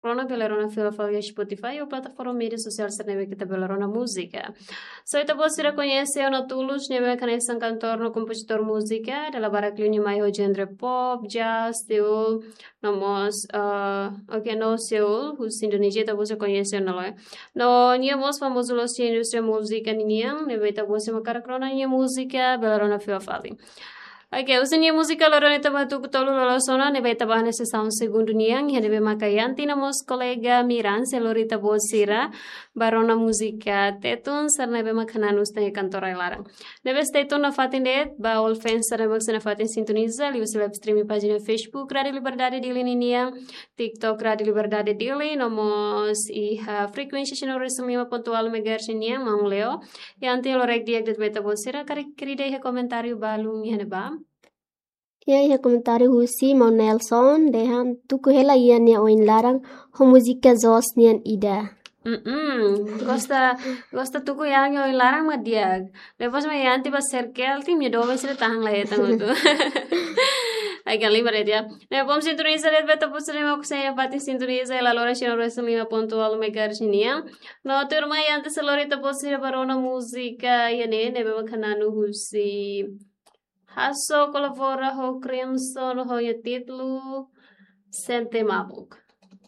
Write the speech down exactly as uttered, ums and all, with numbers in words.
rona bele rona fila fali iha Spotify ou plataforma média sosiál sira ne'ebé ita bele rona múzika. So ita-boot sira koñese ona Tulus ne'ebé mak hanesan kantór no kompozitór múzika, dala barak liu nia mai ho genre pop, jazz, soul, no mós, ah, oke, no soul, husi Indonézia ita-boot sira koñese ona loos. No nia mós famozu loos iha indústria múzika ninian, ne'ebé ita-boot sira mak hakarak rona nia múzika, bele rona fila fali. Oke, husi nia múzika loron ida mak tuku tolu lolos ona, ne'ebé ita ba hanesan sesaun segundu nian, iha ne'ebé maka Yanti no mós kolega Miran sei lori ita-boot sira ba rona múzika Tetun, sira ne'ebé mak Xanana Husi tan iha kantór oin laran. Ne'ebé stay tune nafatin de'it, ba all fans sira ne'ebé mak sei nafatin sintoniza, liuhusi live streaming pájina Facebook Rádio Liberdade Dili ninian, TikTok Rádio Liberdade Dili, no mós iha frekuénsia cento e dois vírgula cinco ponto nol megahertz nian, Maun Leo. Yanti, ha'u lorek di'ak de'it ba ita-boot sira, karik ida iha komentáriu balun iha ne'ebá? Ya, iha komentáriu husi Maun Nelson, dehan tuku hela Yan nia oin laran, ho múzika Zos nian ida. Mm-mm. Gosta, gosta tuku Yan nia oin laran mak di'ak. Depois mak Yanti ba circle, tim nia doben sira tahan la hetan hotu. Ai, kan lima de'it ya. Ne'e bom sintoniza de'it ba ita-boot sira ne'ebé mak sei nafatin sintoniza hela loron cento e dois vírgula cinco ponto nol megahertz nian. No tuirmai Yanti sei lori ita-boot sira ba rona múzika iha ne'e, ne'ebé mak Xanana Husi. Hasso kolabora ho Crimson ho nia títulu Sente Mabuk.